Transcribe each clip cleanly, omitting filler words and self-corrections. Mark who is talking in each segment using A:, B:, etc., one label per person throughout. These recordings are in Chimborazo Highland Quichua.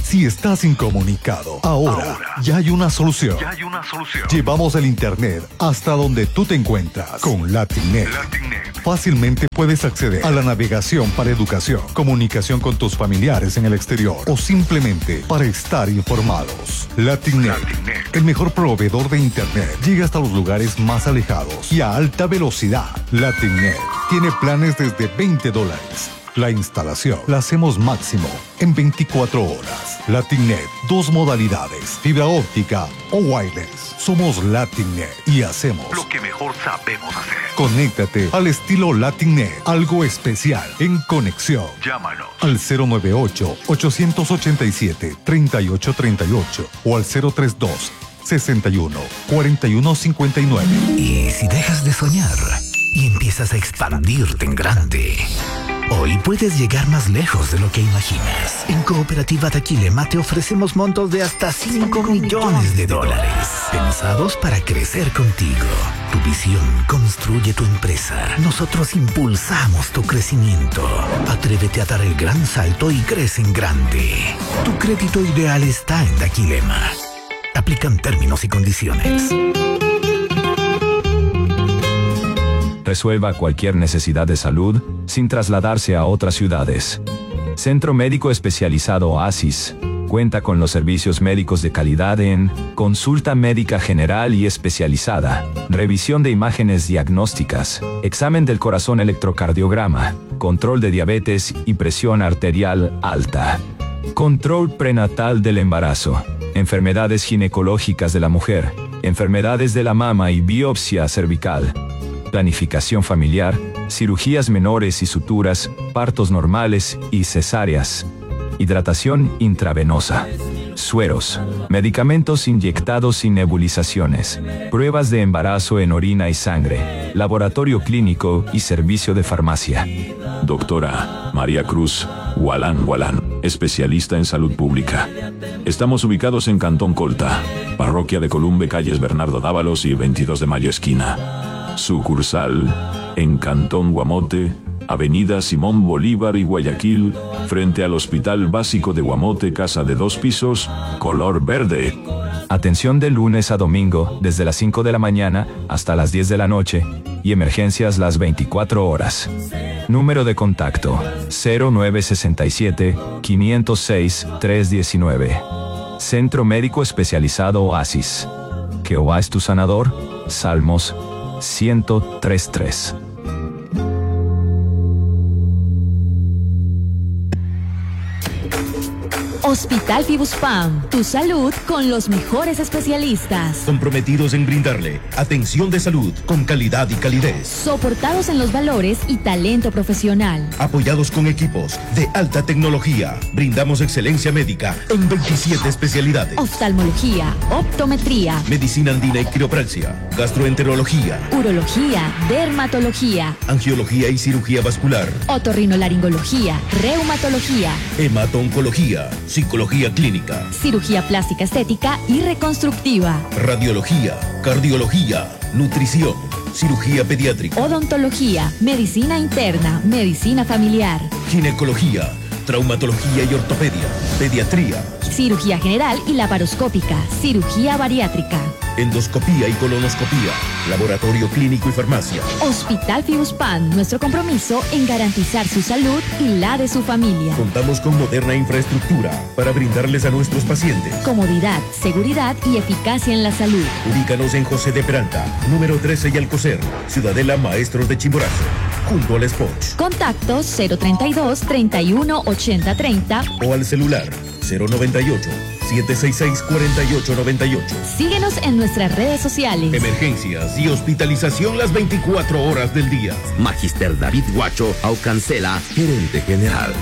A: Si estás incomunicado, ahora, ya hay una solución.
B: Ya hay una solución.
A: Llevamos el Internet hasta donde tú te encuentras con LatinNet.
B: LatinNet.
A: Fácilmente puedes acceder a la navegación para educación, comunicación con tus familiares en el exterior o simplemente para estar informados. LatinNet,
B: LatinNet.
A: el mejor proveedor de Internet, llega hasta los lugares más alejados y a alta velocidad. LatinNet tiene planes desde 20 dólares. La instalación la hacemos máximo en 24 horas. LatinNet, dos modalidades, fibra óptica o wireless. Somos LatinNet y hacemos
B: Lo que mejor sabemos hacer.
A: Conéctate al estilo LatinNet, algo especial en conexión.
B: Llámanos.
A: Al 098-887-3838 o al 032 61 41 59.
C: Y si dejas de soñar y empiezas a expandirte en grande, hoy puedes llegar más lejos de lo que imaginas. En Cooperativa Daquilema te ofrecemos montos de hasta 5 millones de dólares, pensados para crecer contigo. Tu visión construye tu empresa. Nosotros impulsamos tu crecimiento. Atrévete a dar el gran salto y crece en grande. Tu crédito ideal está en Daquilema. Aplican términos y condiciones.
D: Resuelva cualquier necesidad de salud sin trasladarse a otras ciudades. Centro Médico Especializado Oasis cuenta con los servicios médicos de calidad en consulta médica general y especializada, revisión de imágenes diagnósticas, examen del corazón electrocardiograma, control de diabetes y presión arterial alta. Control prenatal del embarazo, enfermedades ginecológicas de la mujer, enfermedades de la mama y biopsia cervical, planificación familiar, cirugías menores y suturas, partos normales y cesáreas, hidratación intravenosa, sueros, medicamentos inyectados y nebulizaciones, pruebas de embarazo en orina y sangre, laboratorio clínico y servicio de farmacia.
E: Doctora María Cruz Gualán Gualán, especialista en salud pública. Estamos ubicados en Cantón Colta, parroquia de Columbe, calles Bernardo Dávalos y 22 de Mayo esquina. Sucursal en Cantón Guamote, Avenida Simón Bolívar y Guayaquil, frente al Hospital Básico de Guamote, casa de dos pisos, color verde.
D: Atención de lunes a domingo, desde las 5 de la mañana hasta las 10 de la noche, y emergencias las 24 horas. Número de contacto 0967 506 319. Centro Médico Especializado Oasis. Jehová es tu sanador. Salmos 103.3.
F: Hospital Fibuspam, tu salud con los mejores especialistas.
G: Comprometidos en brindarle atención de salud con calidad y calidez.
F: Soportados en los valores y talento profesional.
G: Apoyados con equipos de alta tecnología, brindamos excelencia médica en 27 especialidades.
F: Oftalmología, optometría,
G: Medicina andina y quiropraxia, gastroenterología,
F: urología, dermatología,
G: angiología y cirugía vascular,
F: otorrinolaringología, reumatología,
G: hemato-oncología, psicología clínica,
F: cirugía plástica estética y reconstructiva,
G: radiología, cardiología, nutrición, cirugía pediátrica,
F: odontología, medicina interna, medicina familiar,
G: ginecología, traumatología y ortopedia, pediatría,
F: cirugía general y laparoscópica, cirugía bariátrica.
G: endoscopía y colonoscopía, laboratorio clínico y farmacia.
F: Hospital Fibuspam, nuestro compromiso en garantizar su salud y la de su familia.
G: Contamos con moderna infraestructura para brindarles a nuestros pacientes.
F: Comodidad, seguridad y eficacia en la salud.
G: Ubícanos en José de Peralta, número 13 y Alcocer, Ciudadela Maestros de Chimborazo, junto al Spoch.
F: Contacto 032 31 80 30.
G: O al celular 098 766 4898.
F: Síguenos en nuestras redes sociales.
G: Emergencias y hospitalización las 24 horas del día.
H: Magister David Guacho Aucancela, gerente general.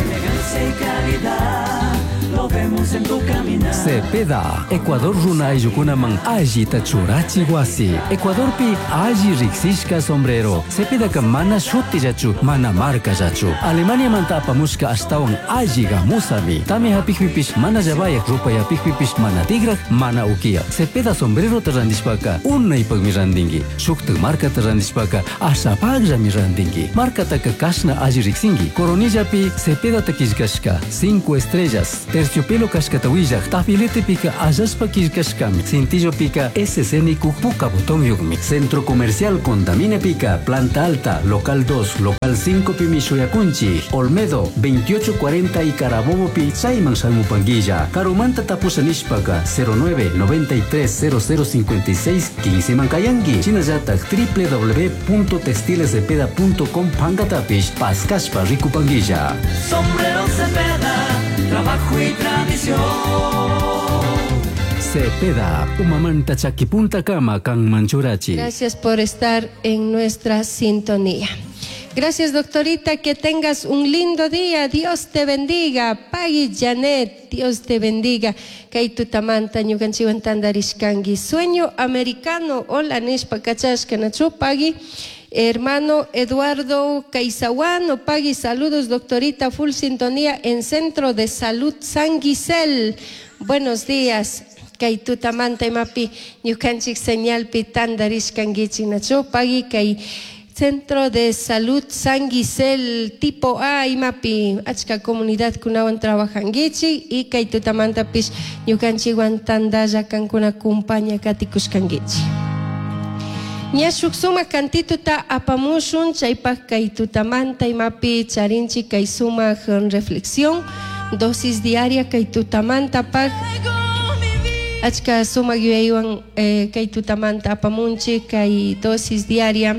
I: Elegancia y calidad, lo vemos en tu caminar.
J: Cepeda, Ecuador runa ayllukunaman allita churachi wasi. Ecuadorpi alli riqsishka sombrero. Cepedaka mana shutillachu, mana markallachu. Alemaniamanta apamushka ashtawan alli gamusami. Tami hapikpipish mana llabayaq, rupayapikpipish mana tigraq, mana ukiya. Cepeda sombrerota randishpaka unaypaqmi randinki. Shuktak markata randishpaka ashapaqllami randinki. Markataka kashna alli riqsinki. Coronillapi Cepedata qillqashka. Cinco estrellas. Terciopelo Modelo cashkata willaq tabiletepika allashpa killkashkami. Cintillopika SC nikuj puka botonyuqmi. Centro Comercial Condaminepika Planta Alta, Local 2, Local 5 pimi shuyakunchik. Olmedo 2840 y Carabobopi chayman shamupanguilla. Karumanta tapusha nishpaka 09 93 0056 15 mankayanki. Shinallatak www.textilescepeda.com pankatapish paskashpa rikupanguilla.
I: Sombrero Cepeda, trabajo y tradición.
J: Cepeda, umamanta chakipunta kama kanman churachi.
K: Gracias por estar en nuestra sintonía. Gracias, doctorita, que tengas un lindo día. Dios te bendiga. Pagui Janet, Dios te bendiga. Kay tutamanta ñukanchikwan tantarishkanki. Sueño americano. Hola, nishpa kachashka nachu Pagui. Hermano Eduardo Caizahuano, Pagui, saludos, doctorita, full sintonía en Centro de Salud San Gisel. Buenos días. Kay tutamanta imapi ñukanchik señalpi tantarishkankichik nachu Pagui kay Centro de Salud San Gisel tipo A imapi achka comunidad kunawan trabajankichik y kay tutamantapish ñukanchikwan tantalla kankuna kumpaña katikushkankichik. Ña shuk sumak kantituta apamushun chaypak kay tutamanta imapi charinchik kay sumak reflexión dosis diaria kay tutamantapaq achka sumak yuyaywan kay tutamanta apamunchik kay dosis diaria.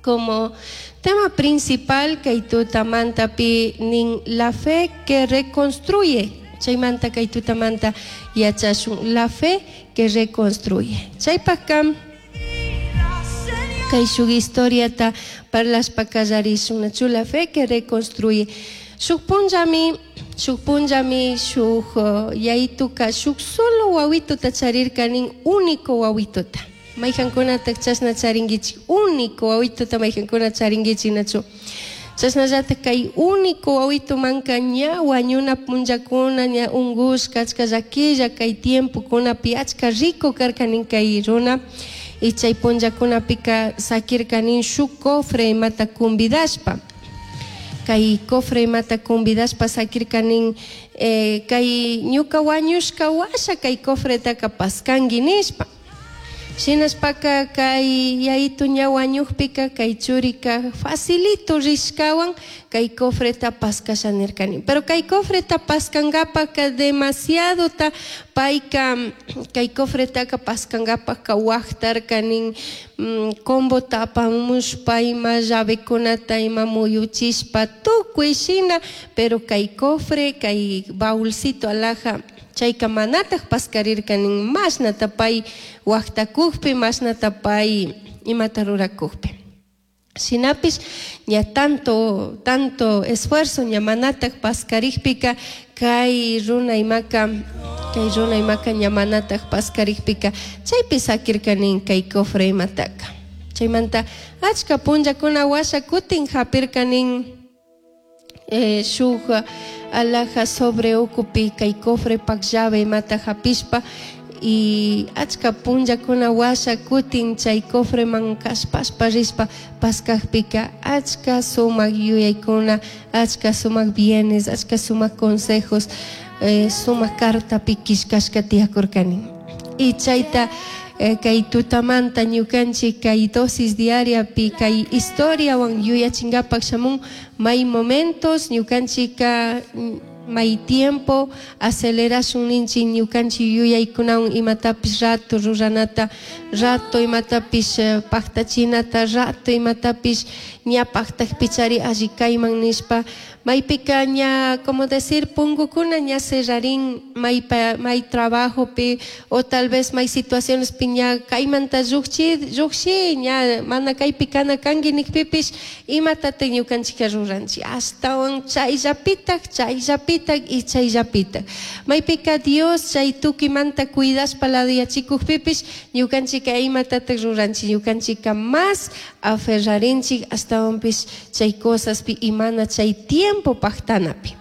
K: Como tema principal kay tutamantapi nin la fe que reconstruye. Chaymanta kay tutamanta yachashun la fe que reconstruye. Chaypaqqa kay shuk historiata parlashpa kallarishun nachu la fe que reconstruye. Shuk punllami shuk yayituka shuk solo wawituta charirka nin único wawituta. Mayqankunataj chashna charinkichik único wawituta mayqankuna charinkichik nachu. Chashnallataj kay único wawitumanka ña wañuna punllakuna ña unkushka achka llaquilla kay tiempokunapi achka rico karka nin kay runa. Y chay punllakunapika sakirka nin shuk cofre imata convidashpa. Kay cofre imata convidashpa sakirka nin kay ñuka wañushka washa kay cofretaka paskanki nishpa. Shinashpaka kay yayitu ña wañukpika kay churika facilito rishkawan kay cofreta paskasha nirkani. Pero kay cofreta paskankapaka demasiadota payka kay cofretaka paskankapaka waqtarka nin combota apamushpa ima llavekunata ima muyuchishpa tukuy shina, pero kay cofre kay baulcito alhaja chayka manataj paskarirka nin mashnata pay waqtakukpi mashnata pay imata rurakukpi. Shinapish ña tanto esfuerzo ña manataj paskarikpika kay runa imaka ña manataj paskarikpika chaypi sakirka nin kay cofre imataka. Chaymanta achka punllakuna washa kutin hapirka nin shuk alhaja sobre ukupi kay cofre pak llave imata hapishpa y achka punllakuna washa kutin chay cofreman kashpashpa rishpa paskakpika achka sumak yuyaykuna achka sumak bienes achka sumak consejos sumak cartapi killkashka tiyakurkani. Y chayta kay tutamanta ñukanchik kay dosis diariapi kay historiawan yuyachinkapak shamun may momentos ñukanchika may tiempo acelerashun ninchik ñukanchik yuyaykunawan imatapish rato ruranata rato imatapish paktachinata rato imatapish ña paktakpichari alli kayman nishpa maypika ña como decir punkukuna ña cerrarin may trabajopi o tal vez may situaciones pi ña kaymanta llukshi ña mana kaypi kana kanki nikpipish imatatak ñukanchika ruranchik ashtawan chayllapitak chayllapitak y chayllapitak maypika Dios chay tukimanta cuidashpa laduyachikukpipish ñukanchika imatatak ruranchik ñukanchika más aferrarinchik ashtawanpish chay cosaspi y mana chay tiempo paktanapi.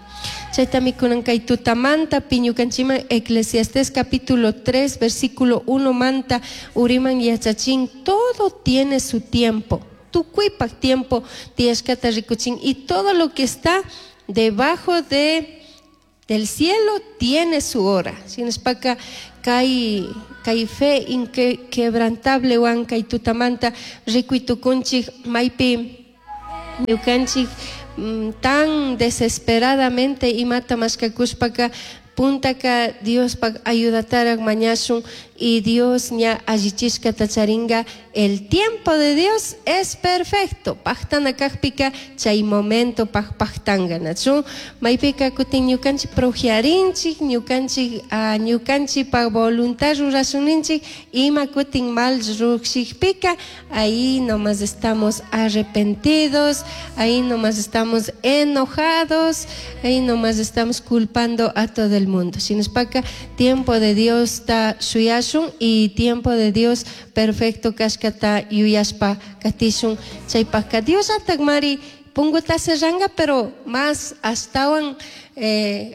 K: Chaytami kunan kay tutamanta ñukanchikman Eclesiastés capítulo 3 versículo 1 manta uriman yachachin todo tiene su tiempo. Tukuypak tiempo tiyashkata rikuchin y todo lo que está debajo de Del cielo tiene su hora. Shinashpaka kay kay fe inquebrantable wan kay tutamanta rikuy tukunchik maypi ñukanchik tan desesperadamente imata mashkakushpaka puntaka Diospak ayudatarak mañashun y Dios ña allichishkata charinga. El tiempo de Dios es perfecto. Paktana kajpika chay momento pak paktanga nachu. Maypika kutin ñukanchik projiarinchik, ñukanchik ñukanchikpak voluntad rurashuninchik, ima kutin mal rukshikpika, ahí nomás estamos arrepentidos, ahí nomás estamos enojados, ahí nomás estamos culpando a todo el mundo. Shinashpaka tiempo de Dios ta shuyashun y tiempo de Dios perfecto kashkata yuyashpa katishun. Chaypajka Dios atakmari punguta cerranga, pero más ashtawan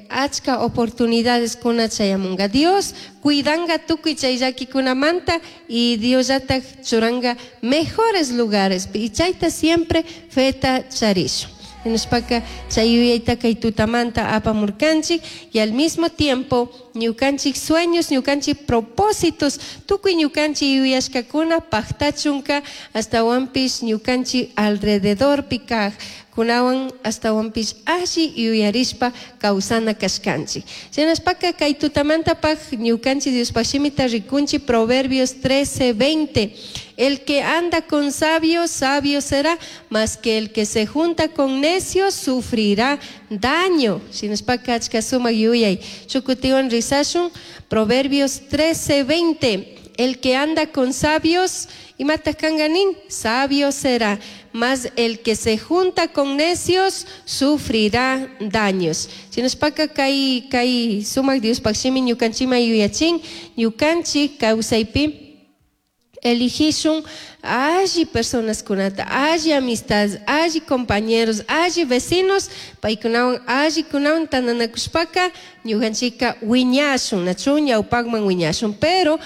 K: achka oportunidades kuna chayamunga. Dios cuidanga tukuy chay llakikunamanta y Dios llatak churanga mejores lugares. Y chayta siempre feta charishun. Hinashpaka chay yuyayta kay tutamanta apamurkanchik y al mismo tiempo ñukanchik sueños, ñukanchik propósitos, tukuy ñukanchik yuyashkakuna paktachunka astawanpish ñukanchik alrededorpi kaj kunawan astawanpish alli yuyarishpa kawsana kashkanchik. Shinashpaka kay tutamantapaj ñukanchik Diospaj shimita rikunchik Proverbios 13:20. El que anda con sabios, sabio será, mas que el que se junta con necios sufrirá daño. Shinashpaka achka sumak yuyay. Shukutiwan rizashun, Proverbios 13:20. El que anda con sabios, imata kanganin, sabio será, mas el que se junta con necios sufrirá daños. Shinashpaka kay kay sumak Diospaj shimi ñukanchima yuyachin, ñukanchik kawsaypi eligishun alli personas kunata, alli amistades, alli compañeros, alli vecinos, paykunawan alli kunawan tantanakushpaka ñukanchika wiñashun, nachu ñawpakman wiñashun, pero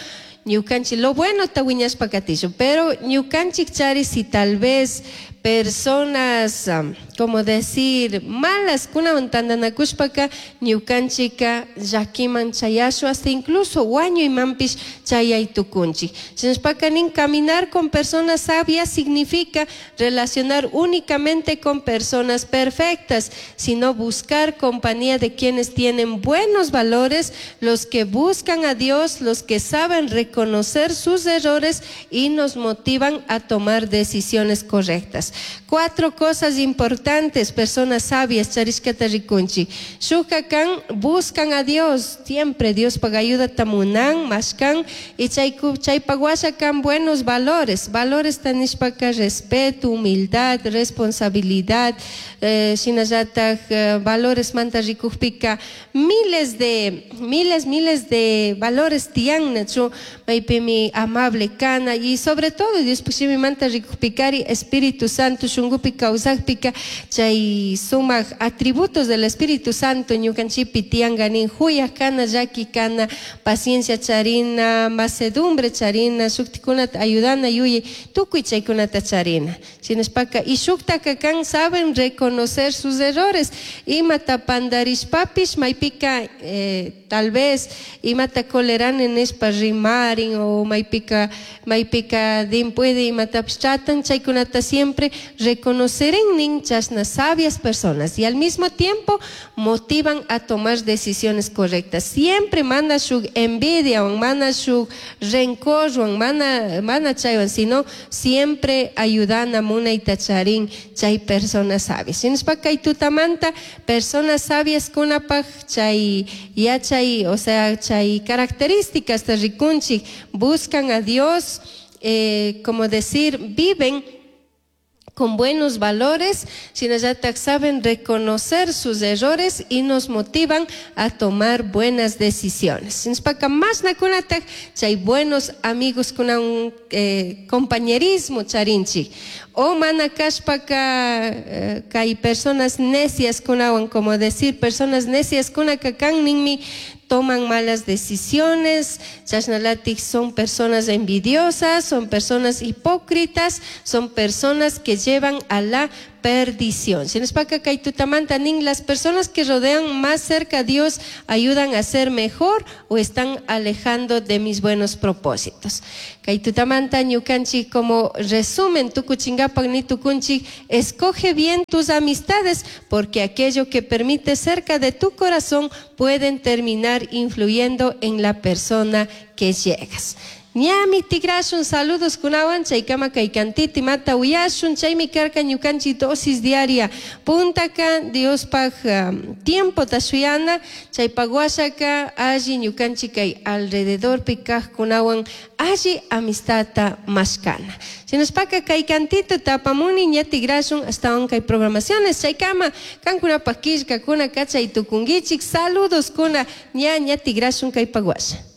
K: ñukanchik lo bueno ta wiñashpa katishun, pero ñukanchik chari si tal vez personas, como decir, malas kunawan tantanakushpaka ñukanchika llakiman chayashun, hasta incluso wañuymanpish chayay tukunchik. Shinashpaka nin caminar con personas sabias significa relacionar únicamente con personas perfectas, sino buscar compañía de quienes tienen buenos valores, los que buscan a Dios, los que saben reconocer sus errores y nos motivan a tomar decisiones correctas. 4 cosas importantes, personas sabias, charishkata rikunchik. Shukakan buscan a Dios, siempre Dios paga ayuda tamunan, mashkan, y chaypaguashakan buenos valores, valores tanishpaka respeto, humildad, responsabilidad, shinallatak valores manta rikujpika, miles de valores tiyan, nachu, maypimi amable kana, y sobre todo Dios pushimi manta rikujpikari, Espíritu Santo shungupi kawsakpika, chay sumak atributos del Espíritu Santo ñukanchipi tiyanganin, huyak kana, llaki kana, paciencia charina, macedumbre charina, shuktikunata ayudana yuyay, tukuy chaykunata charina. Shinashpaka y shuktaka kan saben reconocer sus errores, imata pandarishpapish maypika tal vez imata kolerani nishpa rimarin o maypika maypika din puede imatapish tratan, chaykunata siempre reconocer nin chasna sabias personas y al mismo tiempo motivan a tomar decisiones correctas. Siempre mana shuk envidia o mana shuk rencor o mana chaywan, sino siempre ayudan a munayta charin chay personas sabias. Shinashpa kay tutamanta personas sabias kunapaj chay yachay, o sea, chay características de rikunchik, buscan a Dios, como decir, viven con buenos valores, sino saben reconocer sus errores y nos motivan a tomar buenas decisiones. Chay buenos amigos con un compañerismo charinchi. O mana kashpaka kay personas necias kunawan, como decir, personas necias kunakakan ninmi toman malas decisiones, chasnalatik son personas envidiosas, son personas hipócritas, son personas que llevan a la perdición. Shinashpaka kay tutamanta nin las personas que rodean más cerca a Dios ayudan a ser mejor o están alejando de mis buenos propósitos. Kay tutamanta ñukanchik como resumen tukuchingapak ni tukunchik escoge bien tus amistades porque aquello que permite cerca de tu corazón pueden terminar influyendo en la persona que llegas. Ñami tigrashun saludos kunawan chaykama kay kantiti mata uyashun chaymi karka ñukanchik dosis diaria puntaka Diospaj um, tiempo tashuyana chaypaq washaka alli ñukanchik kay alrededorpi kajkunawan alli amistadta mashkana. Shinashpaka kay kantito tapamuni ña tigrashun astawan kay programaciones chaykama kankunapaq killkakuna kachay tukunkichik saludos kuna ña ña tigrashun kaypaq washa.